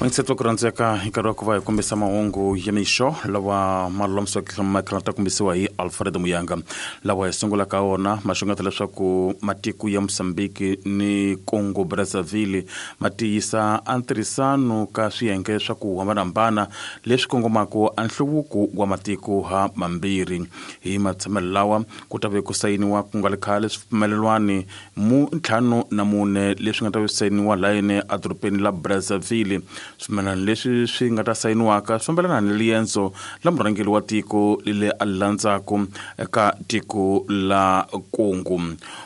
Vayingiseti va ku rhandzeka, hi nkarhi wa ku va hi kombisa mahungu ya mixo lawa ma lulamisiweke ma tlhela ta kombisiwa hi Alfred Muyanga. Lawa hi sungulaka wona ma xungeta leswaku matiko ya Mozambique ni Congo Brazzaville ma tiyisa a ntirhisano ka swiyenge swa ku hambanahambana leswi kongomaka a nhluvuko wa matiko ha mambirhi. Hi matshamelo lawa ku ta ve ku sayiniwa ku nga ri khale swipfumelelwani mu 54 leswi nga ta ve sayiniwa layeni edorobeni la Brazzaville. Swipfumelelwano leswi swi nga ta sayiniwaka swi fambelana ni riendzo la murhangeri wa tiko lele a landzaku eka tiko la Congo.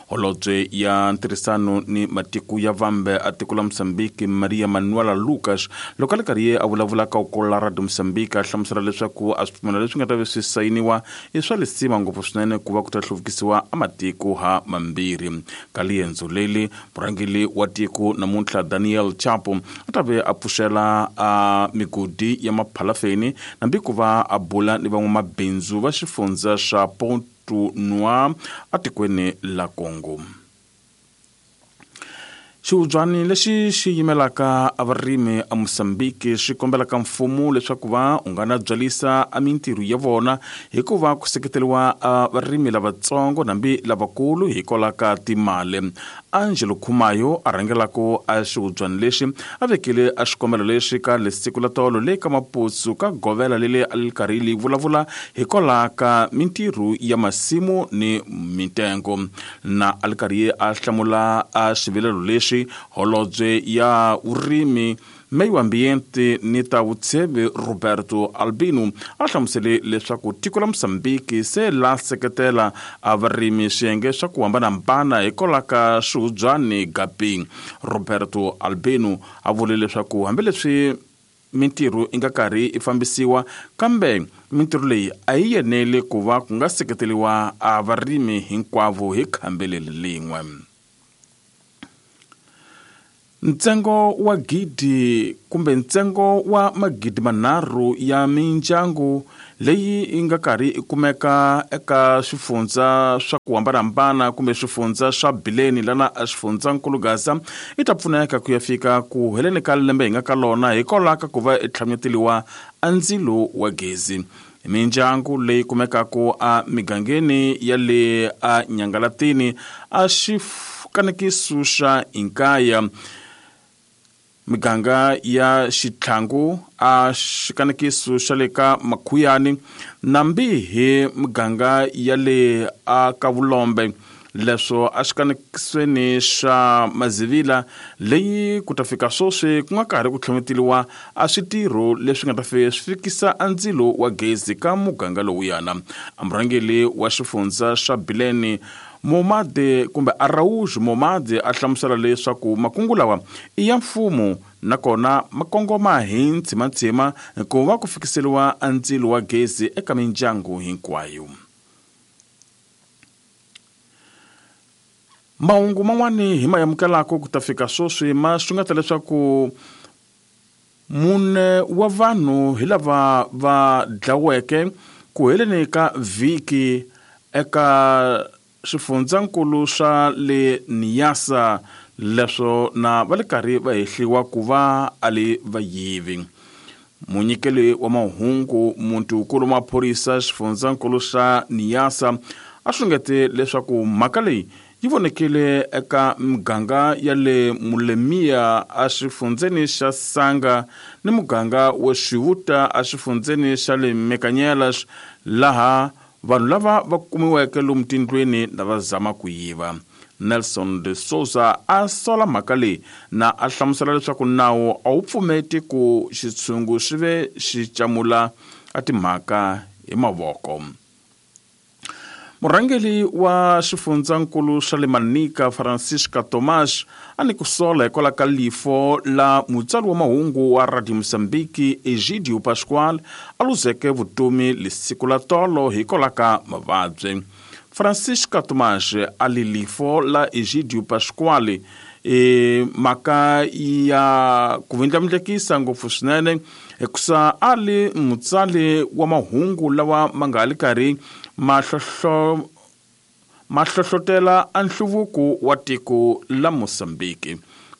Holobye ya ntirhisano ni matiko ya vambe a tiko la Mozambique, Maria Manuela Lucas, loko a ri karhi a vulavula ka ukolo la Radio Mozambique, a hlamusela leswaku a swipfumelelwano leswi nga ta ve swi sayiniwa i swa lisima ngopfu swinene ku va ku ta hluvukisiwa a matiko ha mambirhi. Ka liendzo leli, murhangeri wa tiko namuntlha Daniel Chapo a ta ve a pfuxela a migodi ya maphalafeni nambi ku va a bula ni van'wamabindzu va xifundza xa Ponto Noir atikweni la Congo. Xihubyani lexi xi yimelaka a varimi a Mozambique xi kombelaka mfumo leswaku va u nga na byalisa a mintirho ya vona hikuva ku seketeriwa a varimi lavatsongo nambi lavakulu hikwalaho ka timali. Angelo Khumayo a rhangelaka a xihubyani lexi a vekile a xikombelo lexi ka lesiku la tolo le ka Maputo ka govela lele a li karhi li vulavula hikwalaho ka mintirho ya masimu ni mitengo. Na a li karhi a hlamula a xivilelo lexi, holobye ya vurimi, meio ambiente ni ta vutsheve Roberto Albino a hlamusele leswaku tiko la Mozambique se la seketela a varimi swiyenge swa ku hambanahambana hikwalaho ka swihubyani gapi. Roberto Albino a vule leswaku hambileswi mintirho yi nga karhi yi fambisiwa, kambe mintirho leyi a yi yeneli ku va ku nga seketeriwa a varimi hinkwavo hi khambi leri lin'we. Ntsengo wa gidi kumbe ntsengo wa magidi manharhu ya mindyangu leyi yi nga karhi yi kumeka eka swifundza swa ku hambanahambana kumbe swifundza swa Bileni lana a xifundzankulu Gaza yi ta pfuneka ku ya fika ku heleni ka lembe hi nga ka lona hikwalaho ka ku va i tlhanyeteliwa a ndzilo wa gezi. Mindyangu leyi kumekaka a migangeni ya le a Nyangalatini a xikanekiso xa Inkaya, miganga ya Xitlhangu a xikanekiso xa le ka Makhuyani, nambi hi miganga ya le a ka Vulombe, leswo a xikanekisweni xa Mazivila leyi ku ta fika sweswi ku nga karhi ku tlhometeliwa a switirho leswi nga ta swi fikisa a ndzilo wa gezi ka muganga lowuyana. A murhangeri wa xifundza xa Bileni Momade kumbe Araújo Momade a hlamusela leswaku makungu lawa i ya mfumo nakona ma kongoma hi ntshimantsima ku va ku fikiseriwa a ndzilo wa gezi eka mindyangu hinkwayo. Mahungu man'wani hi ma amukelaka ku ta fika sweswi ma xungeta leswaku mune wa vanhu hi lava va dlaweke ku heleni ka vhiki eka swifundzankulu swa le Niassa, leswo na va le karhi va hehliwa ku va a li vayivi. Munyikeli wa mahungu muntiwukulu wa maphorisa xifundzankulu xa Niassa a xungete leswaku mhaka leyi yi vonekile eka muganga ya le Mulemia a xifundzeni xa Sanga ni muganga wa Xivuta a xifundzeni xa le Mekanyelas, laha vanhu lava va kumiweke lomu tindlwini lava zama ku yiva. Nelson de Souza a sola mhaka leyi na a hlamusela leswaku nawu a wu pfumeti ku xitshungu xi ve xi camula a timhaka hi mavoko. Murhangeri wa xifundzankulu xa le Manica, Francisca Tomás, a ni ku sola hikwalaho ka lifo la mutsari wa mahungu wa Radio Mozambique Egidio Pascual a luzeke vutomi lesiku la tolo hikwalaho ka mavabyi. Francisca Tomás a li lifo la Egidio Pascual e mhaka ya ku vindlavindlekisa ngopfu swinene hikusa a li mutsari wa mahungu lawa ma nga li karhi ma hlohlotela a nhluvuko wa tiko la Mozambique.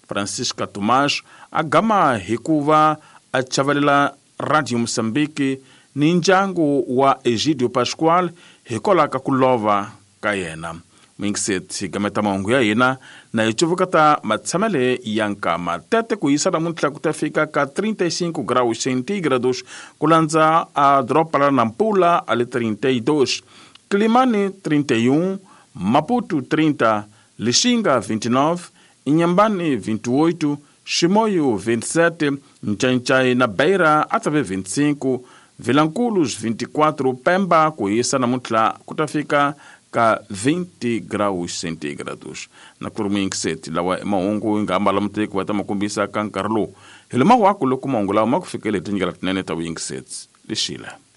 Francisca Tomás a gama hi ku va a chavelela Radio Moçambique ni ndyangu wa Egidio Pascual hikwalaho ka ku lova ka yena. Muyingiseti, hi gameta mahungu ya hina na hi cuvuka ta matshamele ya nkama. Tete ku hisa namuntlha ku ta fika ka 35 graus centígrados ku landza a doroba la Nampula a le 32, Quilimane 31, Maputo 30, Lixinga 29, Inhambane 28, Chimoio 27, Ncancai na Beira a ta ve 25, Vilanculos 24, Pemba ku hisa namuntlha ku ta fika ka 20 graus centígrados. Na ku ri muyingiseti, lawa i mahungu yi nga ambala muteki va ta ma kombisa ka nkarhi lowu. Hi lo mawaku loko mahungu lawa ma ku fikele hi tindlela tinene ta vuyingiseti. Lexile.